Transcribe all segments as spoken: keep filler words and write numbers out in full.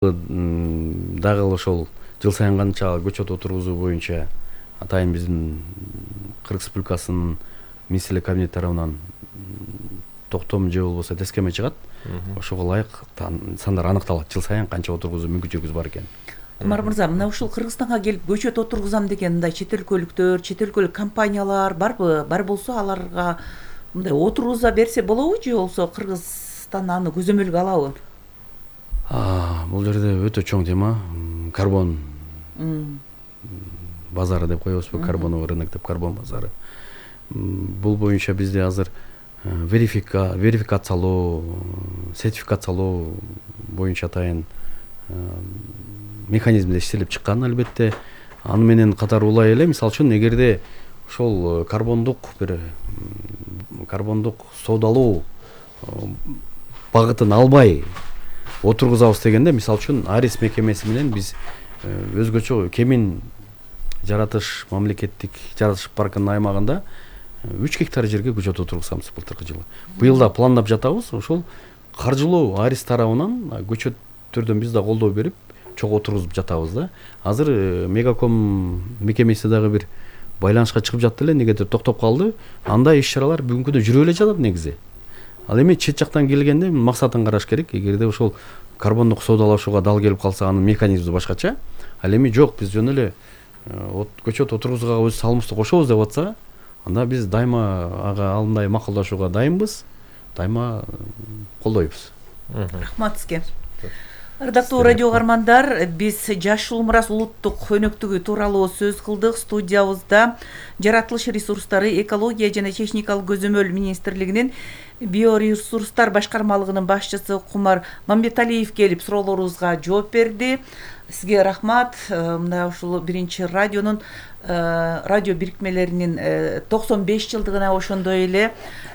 дагы ошол жыл сайын канча көчөт отургузуу боюнча атайын биздин Кыргыз Республикасынын министрлик кабинети тарабынан токтом же болбосо тескеме чыгат. Ошого ылайык сандар аныкталат, жыл сайын канча отургузуу мүмкүнчүлүгүбүз бар экен. Кумар мырза, мына ушул Кыргызстанга келип көчөт отургузам деген мындай чет өлкөлүктөр, чет өлкөлүк компаниялар барбы? Бар болсо аларга мындай отургуза берсе болобу же болбосо Кыргызстан аны көзөмөлгө алабы? Бул жерде өтө чоң тема. Карбон базары деп коебузбу, карбоновый рынок деп, карбон базары. Бул боюнча бизде азыр верификациялоо, сертификациялоо боюнча атайын механизмде иштелип чыккан албетте. Аны менен катар улай эле, мисалы үчүн, эгерде ошол карбондук бир карбондук соодалоо багытын албай отургузабыз дегенде, мисалы үчүн, Арис мекемеси менен биз өзгөчө Кемин жаратыш мамлекеттик жаратыш паркынын аймагында үч гектар жерге көчөт отургузабыз былтыркы жылы. Быйыл да пландап жатабыз. Ошол каржылоо Арис тарабынан көчөттөрдөн биз да колдоо берип, чогуу отургузуп жатабыз да. Азыр Мегаком мекемеси дагы бир байланышка чыгып жатты эле, негедир токтоп калды. Андай иш-чаралар бүгүнкү күндө жүрүп эле жатат негизи. Ал эми чет жактан келгенде максатын караш керек. Эгерде ошол карбондук соодалашууга дал келип калса, анын механизми башкача. Ал эми жок, биз жөн эле көчөт отургузууга өз салымыбызды кошобуз деп атса, анда биз дайыма ага алындай макулдашууга дайынбыз, дайыма колдойбуз. Рахмат сизге. Ардактуу радио угармандар, биз Жашыл Мурас улуттук өнөктүгү тууралуу сөз кылдык. Студиябызда Жаратылыш ресурстары, экология жана техникалык көзөмөл министрлигинин биоресурстар башкармалыгынын башчысы Кумар Мамбеталиев келип суроолорубузга жооп берди. Сизге рахмат. Мына ушул биринчи радионун радио бирикмелеринин токсон беш жылдыгына ошондой эле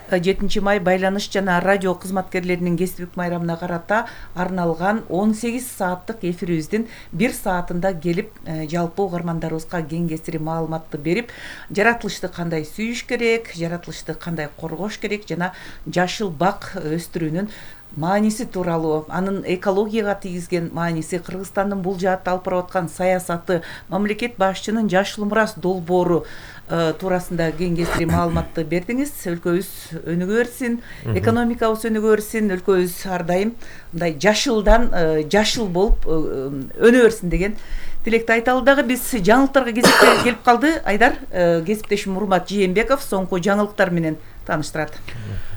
жетинчи май байланыш жана радио кызматкерлеринин кесиптик майрамына карата арналган он сегиз сааттык эфирибиздин бир саатында келип жалпы угармандарыбызга кең кесири маалыматты берип, жаратылышты кандай сүйүш керек, жаратылышты кандай коргош керек жана жашыл бак өстүрүүнүн мааниси тууралуу, анын экологияга тийгизген мааниси, Кыргызстандын бул жаатта алып барып аткан саясаты, мамлекет башчынын Жашыл Мурас долбоору туурасында кең кесири маалыматты бердиңиз. Өлкөбүз өнүгө берсин, экономикабыз өнүгө берсин, өлкөбүз ар дайым мындай жашылдан жашыл болуп өнө берсин деген тилекти айталы. Дагы биз жаңылыктарга кезекке келип калды. Айдар, кесиптешим Урмат Жээнбеков соңку жаңылыктар менен тааныштырат.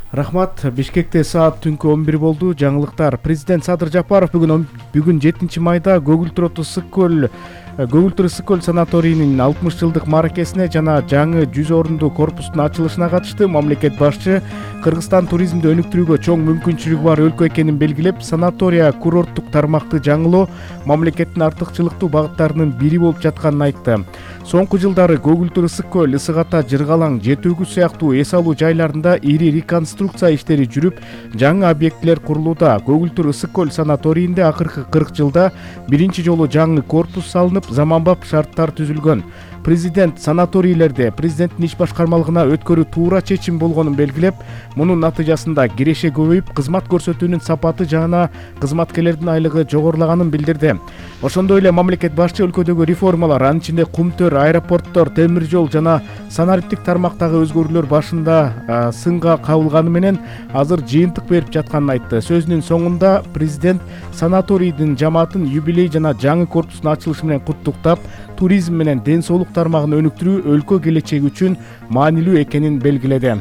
Рахмат. Бишкекте саат түнкү он бир болду. Жаңылыктар. Президент Садыр Жапаров бүгүн бүгүн жетинчи майда Көгүлтүр Ысык көл Көгүлтүр Ысык көл санаторийинин алтымыш жылдык мааракесине жана жаңы жүз орунду корпустун ачылышына катышты. Мамлекет башчы Кыргызстан туризмди өнүктүрүүгө чоң мүмкүнчүлүгү бар өлкө экенин белгилеп, санатория курорттук тармакты жаңылоо мамлекеттин артыкчылыктуу багыттарынын бири болуп жатканын айтты. Соңку жылдары Көгүлтүр Ысык көл, Ысык Ата, Жыргалаң, Жети Өгүз сыяктуу эс алуу жайларында ири реконструкция иштери жүрүп, жаңы объектилер курулууда. Көгүлтүр Ысык көл санаторийинде акыркы кырк жылда биринчи жолу жаңы корпус салынып, заманбап шарттар түзүлгөн. Президент санаторийлерде президенттин иш башкармалыгына өткөрүү туура чечим болгонун белгилеп, мунун натыйжасында киреше көбөйүп, кызмат көрсөтүүнүн сапаты жана кызматкерлердин айлыгы жогорулаганын билдирди. Ошондой эле мамлекет башчы өлкөдөгү реформалар, анын ичинде кумтөр, аэропорттор, темир жол жана санариптик тармактагы өзгөрүүлөр башында сынга кабылганы менен азыр жыйынтык берип жатканын айтты. Сөзүнүн соңунда президент санаторийдин жамаатын юбилей жана жаңы корпустун ачылышы менен куттуктап, туризм менен ден соолук тармагын өнүктүрүү өлкө келечеги үчүн маанилүү экенин белгиледи.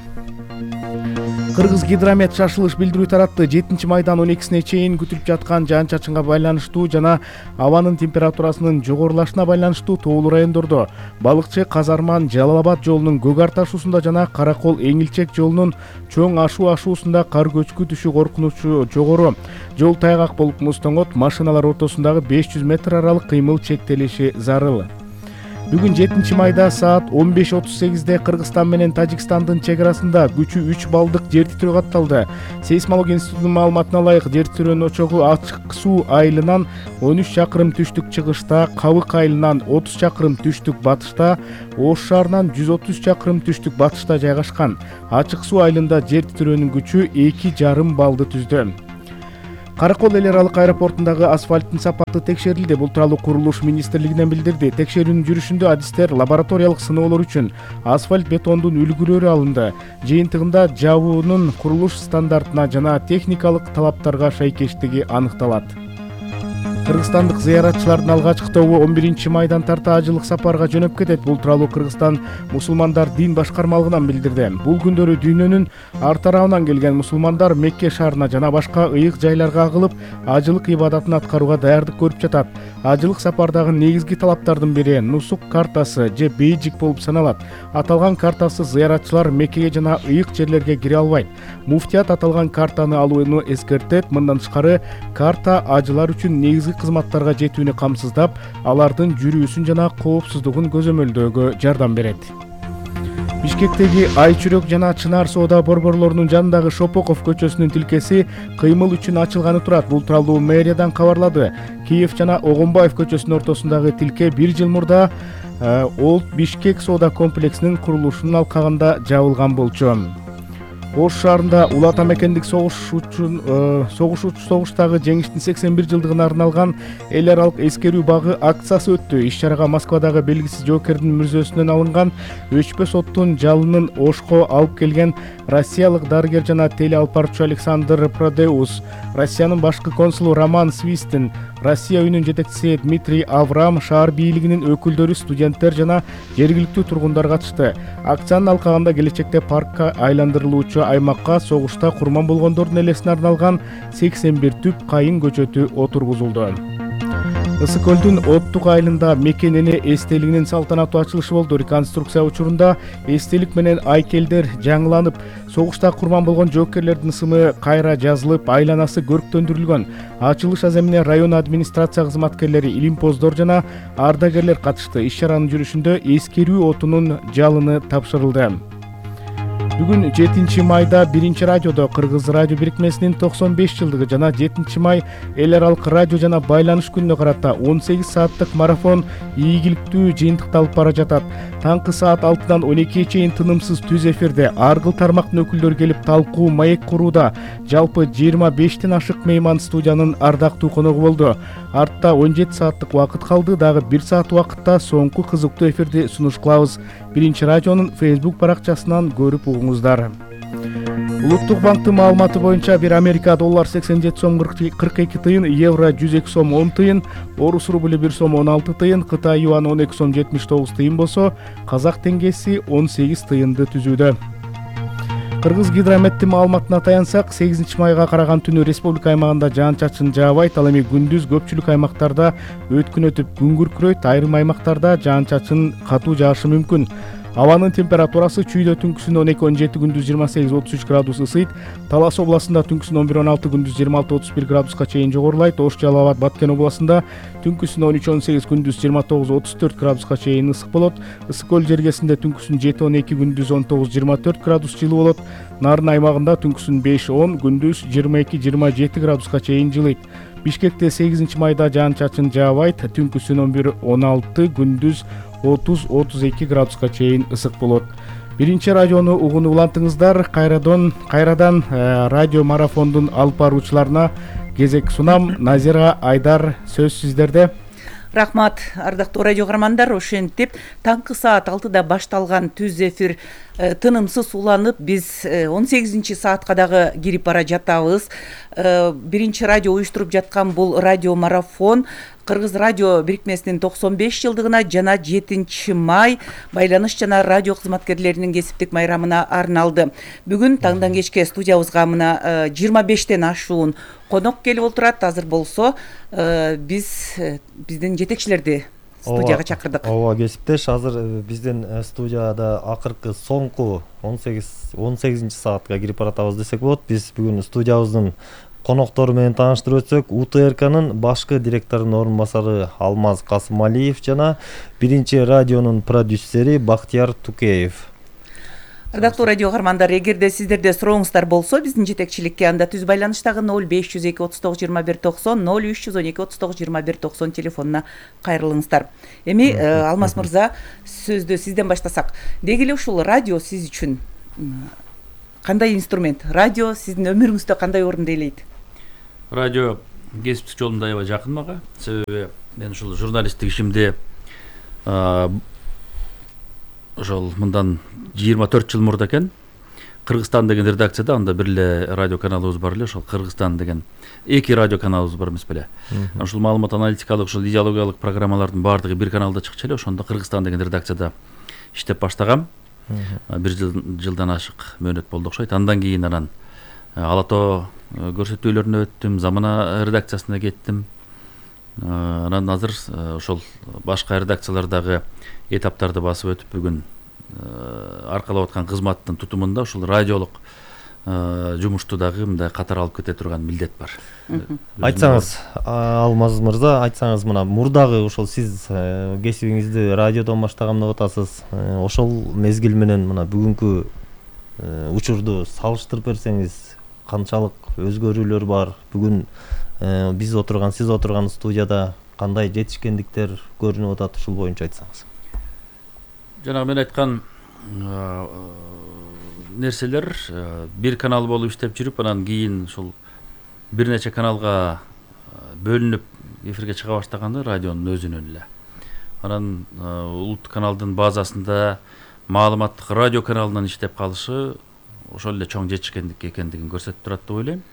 Кыргыз Гидромет шашылыш билдирүү таратты. жетинчи майдан он экисине чейин күтүлүп жаткан жаан-чачынга байланыштуу жана абанын температурасынын жогорулашына байланыштуу тоолуу райондордо Балыкчы, Казарман, Жалал Абад жолунун Көгар ташуусунда жана Каракол, Эңилчек жолунун Чоң Ашуу ашуусунда кар көчкү түшүү коркунучу жогору. Жол тайгак болуп муздоңот, машиналар ортосундагы беш жүз метр аралык кыймыл чектелиши зарыл. Бүгүн жетинчи майда саат он беш отуз сегизде Кыргызстан менен Тажикстандын чек арасында күчү үч баллдык жер титирөө катталды. Сейсмология институтунун маалыматына ылайык, жер титирөөнүн очогу Ачык Суу айылынан он үч чакырым түштүк чыгышта, Кабык айылынан отуз чакырым түштүк батышта, Ош шаарынан жүз отуз чакырым түштүк батышта жайгашкан. Ачык Суу айылында жер титирөөнүн күчү эки жарым баллды түздү. Каракол эл аралык аэропортундагы асфальттын сапаты текшерилди. Бул тууралуу курулуш министрлигинен билдирди. Текшерүүнүн жүрүшүндө адистер лабораториялык сыноолор үчүн асфальт бетондун үлгүлөрү алынды. Жыйынтыгында жабуунун курулуш стандартына жана техникалык талаптарга шайкештиги аныкталат. Кыргызстандык зыяратчылардын алгачкы тобу он биринчи майдан тарта ажылык сапарга жөнөп кетет. Бул тууралуу Кыргызстан мусулмандар дин башкармалыгынан билдирди. Бул күндөрү дүйнөнүн ар тарабынан келген мусулмандар Мекке шаарына жана башка ыйык жайларга агылып, ажылык ибадатын аткарууга даярдык көрүп жатат. Ажылык сапардагы негизги талаптардын бири нусук картасы же бейджик болуп саналат. Аталган картасыз зыяратчылар Меккеге жана ыйык жерлерге кире албайт. Муфтият аталган картаны алууну эскертет. Мындан тышкары, карта ажылар үчүн негизги кызматтарга жетүүнү камсыздап, алардын жүрүүсүн жана коопсуздугун көзөмөлдөөгө жардам берет. Бишкектеги Айчүрөк жана Чынар соода борборлорунун жанындагы Шопоков көчөсүнүн тилкеси кыймыл үчүн ачылганы турат. Бул тууралуу мэриядан кабарлады. Киев жана Огонбаев көчөсүнүн ортосундагы тилке бир жыл мурда Олд Бишкек соода комплексинин курулушунун алкагында жабылган болчу. Ош шаарында Улуу Ата мекендик согуш үчүн согуш согуштагы жеңиштин сексен бир жылдыгына арналган эл аралык эскерүү багы акциясы өттү. Иш-чарага Москвадагы белгисиз жоокердин мүрзөсүнөн алынган өчпөс оттун жалынын Ошко алып келген россиялык дарыгер жана телеалпарчу Александр Продеус, Россиянын башкы консулу Роман Свистин, Россия үйүнүн жетекчиси Дмитрий Аврам, шаар бийлигинин өкүлдөрү, студенттер жана жергиликтүү тургундар катышты. Акциянын алкагында келечекте паркка айландырылуучу аймакка согушта курман болгондордун элесине арналган сексен бир түп кайын көчөтү отургузулду. Ысык көлдүн Оттук айылында Мекен эне эстелигинин салтанаттуу ачылышы болду. Реконструкция учурунда эстелик менен айкелдер жаңыланып, согушта курман болгон жоокерлердин ысымы кайра жазылып, айланасы көрктөндүрүлгөн. Ачылыш аземине район администрация кызматкерлери, илимпоздор жана ардагерлер катышты. Иш-чаранын жүрүшүндө эскерүү отунун жалыны тапшырылды. Бүгүн жетинчи майда биринчи радиодо Кыргыз радио бирикмесинин токсон беш жылдыгы жана жетинчи май эл аралык радио жана байланыш күнүнө карата он сегиз сааттык марафон ийгиликтүү жыйынтыкты алып бара жатат. Таңкы саат алтыдан он экиге чейин тынымсыз түз эфирде ар кыл тармактын өкүлдөрү келип талкуу, маек курууда. Жалпы жыйырма бештен ашык мейман студиянын ардактуу коногу болду. Артта он жети сааттык убакыт калды. Дагы бир саат убакытта соңку кызыктуу эфирди сунуш кылабыз. Биринчи радионун Facebook баракчасынан көрүп угуңуздар. Улуттук банктын маалыматы боюнча бир Америка доллар сексен жети сом кырк эки тыйын, евро жүз эки сом он тыйын, орус рубль бир сом он алты тыйын, Кытай юаны он эки сом жетимиш тогуз тыйын болсо, казак теңгеси он сегиз тыйынды түзүүдө. Кыргыз гидрометтин маалыматына таянсак, сегизинчи майга караган түнү республика аймагында жаан-чачын жаабайт. Ал эми күндүз көпчүлүк аймактарда өткүн өтүп күн күркүрөйт, айрым аймактарда жаан-чачын катуу жаашы мүмкүн. Абанын температурасы чүйдө түнкүсүн он эки он жети, күндүз жыйырма сегиз отуз үч градус ысыйт. Талас областында түнкүсүн он бир он алты, күндүз жыйырма алты отуз бир градуска чейин жогорулайт. Ош, Жалал Абад, Баткен областында түнкүсүн он үч он сегиз, күндүз жыйырма тогуз отуз төрт градуска чейин ысык болот. Ысык көл жергесинде түнкүсүн жети он эки, күндүз он тогуз жыйырма төрт градус жылуу болот. Нарын аймагында түнкүсүн беш он, күндүз жыйырма эки жыйырма жети градуска чейин жылыйт. Бишкекте сегизинчи майда жаан-чачын жаабайт. Түнкүсүн он бир он алты, күндүз отуз отуз эки градуска чейин ысык болот. Биринчи радиону угунуп улантыңыздар. Кайрадан кайрадан радио марафондун алып баруучуларына кезек сунам. Назира, Айдар, сөз сиздерде. Рахмат, ардактуу радио каармандар. Ошентип таңкы саат алтыда башталган түз эфир тынымсыз уланып, биз он сегизинчи саатка дагы кирип бара жатабыз. Биринчи радио уюштуруп жаткан бул радио марафон Кыргыз радио бирикмесинин токсон беш жылдыгына жана жетинчи май байланыш жана радио кызматкерлеринин кесиптик майрамына арналды. Бүгүн таңдан кечке студиябызга мына жыйырма бештен ашуун конок келип отурат. Азыр болсо биз биздин жетекчилерди студияга чакырдык. Ооба, кесиптеш, азыр биздин студияда акыркы соңку он сегизинчи саатка кирип баратабыз десек болот. Биз бүгүн студиябыздын коноктору менен тааныштырып өтсөк, У Т Р К'нын башкы директорунун орун басары Алмаз Касымалиев жана биринчи радионун продюсери Бактияр Тукеев. Ардактуу радио каармандар, эгерде сиздерде сурооңуздар болсо, биздин жетекчиликке анда түз байланыштагы ноль беш жүз эки отуз тогуз жыйырма бир токсон, ноль үч жүз он эки отуз тогуз жыйырма бир токсон телефонуна кайрылыңыздар. Эми Алмаз мырза, сөздү сизден баштасак. Деги эле ушул радио сиз үчүн кандай инструмент? Радио сиздин өмүрүңүздө кандай орунду ээлейт? радио кесиптик жолум да аябай жакын мага. Себеби мен ушул журналисттик ишимди ошол мындан жыйырма төрт жыл мурда экен Кыргызстан деген редакцияда анда бир эле радио каналыбыз бар эле, ошол Кыргызстан деген эки радио каналыбыз бар эмес беле. Ушул маалымат аналитикалык, ушул идеологиялык программалардын баардыгы бир каналда чыкчу эле. Ошондо Кыргызстан деген редакцияда иштеп баштагам. Бир жылдан ашык мөөнөт болду окшойт. Андан кийин анан Ала Тоо көрсөтүүлөрүнө өттүм, Замана редакциясына кеттим. Анан азыр ошол башка редакциялардагы этаптарды басып өтүп бүгүн аркалап аткан кызматтын тутумунда ушул радиолук жумушту дагы мындай катар алып кете турган милдет бар. Айтсаңыз, Алмаз мырза, айтсаңыз мына мурдагы ошол сиз кесибиңизди радиодон баштаган деп атасыз. Ошол мезгил менен мына бүгүнкү учурду салыштырып берсеңиз, канчалык өзгөрүүлөр бар? Бүгүн биз отурган, сиз отурган студияда кандай жетишкендиктер көрүнүп атат, ушул боюнча айтсаңыз. Жанагы мен айткан нерселер бир канал болуп иштеп жүрүп, анан кийин ушул бир нече каналга бөлүнүп эфирге чыга баштаганда радионун өзүнөн эле. Анан улуттук каналдын базасында маалыматтык радио каналынан иштеп калышы ошол эле чоң жетишкендик экендигин көрсөтүп турат деп ойлойм.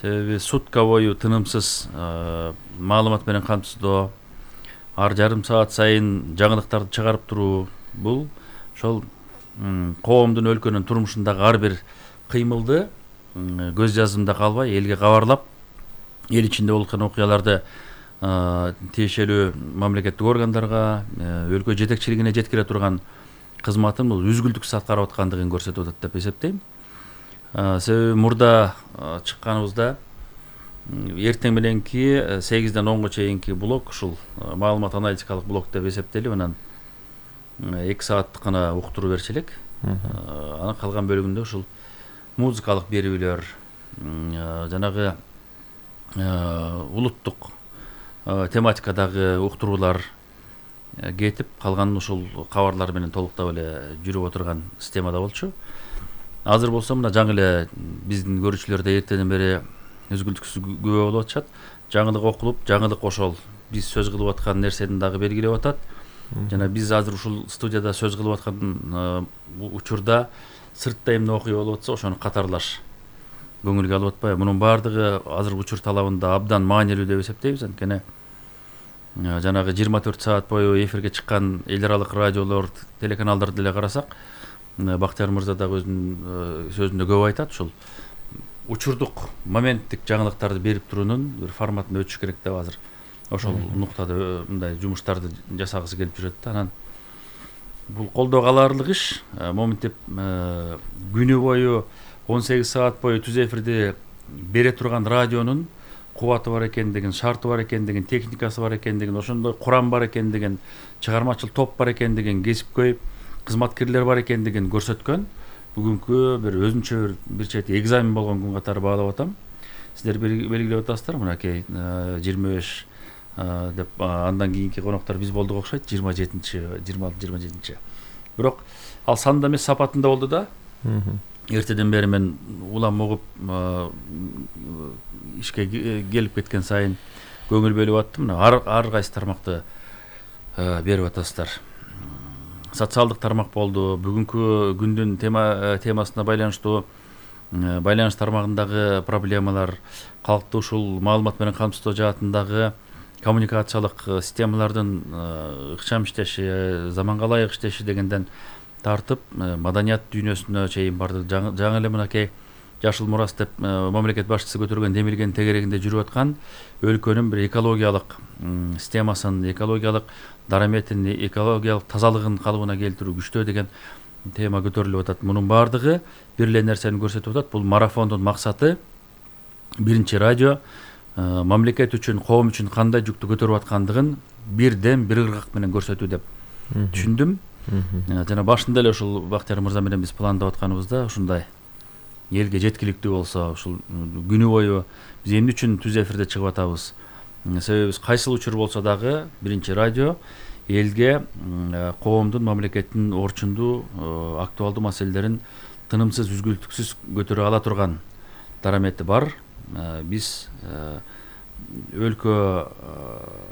Себеби сутка бою тынымсыз маалымат менен камсыздоо, ар жарым саат сайын жаңылыктарды чыгарып туруу, бул ошол коомдун, өлкөнүн турмушундагы ар бир кыймылды көз жазымда калбай элге кабарлап, эл ичинде болуп аткан окуяларды тиешелүү мамлекеттик органдарга, өлкө жетекчилигине жеткире турган кызматын бул үзгүлтүксүз аткарып аткандыгын көрсөтүп атат деп эсептейм. Себеби мурда чыкканыбызда эртең мененки сегизден онго чейинки блок ушул маалымат аналитикалык блок деп эсептелип, анан эки сааттык гана уктуруу берчү элек. Анан калган бөлүгүндө ушул музыкалык берүүлөр, жанагы улуттук тематикадагы уктуруулар кетип, калган ушул кабарлар менен толуктап эле жүрүп отурган системада болчу. Азыр болсо мына жаңы эле биздин көрүүчүлөр да эртеден бери өзгүлтүксүз күбө болуп атышат. Жаңылык окулуп, жаңылык ошол биз сөз кылып аткан нерсени дагы белгилеп атат. Жана биз азыр ушул студияда сөз кылып аткан учурда сыртта эмне окуя болуп атса, ошону катарлаш көңүлгө алып атпайбы. Мунун баардыгы азыр учур талабында абдан маанилүү деп эсептейбиз. Анткени жанагы жыйырма төрт саат бою эфирге чыккан эл аралык радиолор, телеканалдарды деле карасак, Бактияр мырза дагы өзүнүн сөзүндө көп айтат, ушул учурдук моменттик жаңылыктарды берип туруунун бир форматына өтүш керек деп азыр ошол нуктада мындай жумуштарды жасагысы келип жүрөт да. Анан бул колдоого аларлык иш. Моминтип күнү бою он сегиз саат бою түз эфирди бере турган радионун кубаты бар экендигин, шарты бар экендигин, техникасы бар экендигин, ошондой курам бар экендигин, чыгармачыл топ бар экендигин, кесипкөй кызматкерлер бар экендигин көрсөткөн бүгүнкү бир өзүнчө бир чети экзамен болгон күн катары баалап атам. Сиздер белгилеп атасыздар, мынакей жыйырма беш деп андан кийинки коноктор биз болдук окшойт, жыйырма жетинчи, жыйырма алты, жыйырма жетинчи. Бирок ал санда эмес, сапатында болду да. Эртеден бери мен улам угуп ишке келип кеткен сайын көңүл бөлүп аттым. Ар ар кайсы тармакты берип атасыздар. Социалдык тармак болду. Бүгүнкү күндүн тема темасына байланыштуу байланыш тармагындагы проблемалар, калкты ушул маалымат менен камсыздоо жаатындагы коммуникациялык системалардын ыкчам иштеши, заманга ылайык иштеши дегенден тартып маданият дүйнөсүнө чейин барды. Жаңы эле мынакей жашыл мурас деп мамлекет башчысы көтөргөн демилгенин тегерегинде жүрүп аткан өлкөнүн бир экологиялык системасын, экологиялык дараметин, экологиялык тазалыгын калыбына келтирүү күчтөө деген тема көтөрүлүп атат. Мунун баардыгы бир эле нерсени көрсөтүп атат. Бул марафондун максаты биринчи радио мамлекет үчүн, коом үчүн кандай жүктү көтөрүп аткандыгын бирден бир ыргак менен көрсөтүү деп түшүндүм. Жана башында эле ушул Бактияр мырза менен биз пландап атканыбызда ушундай элге жеткиликтүү болсо, ушул күнү бою биз эмне үчүн түз эфирде чыгып атабыз? Себеби биз кайсыл учур болсо дагы биринчи радио элге, коомдун, мамлекеттин орчундуу, актуалдуу маселелерин тынымсыз, үзгүлтүксүз көтөрө ала турган дарамети бар биз өлкө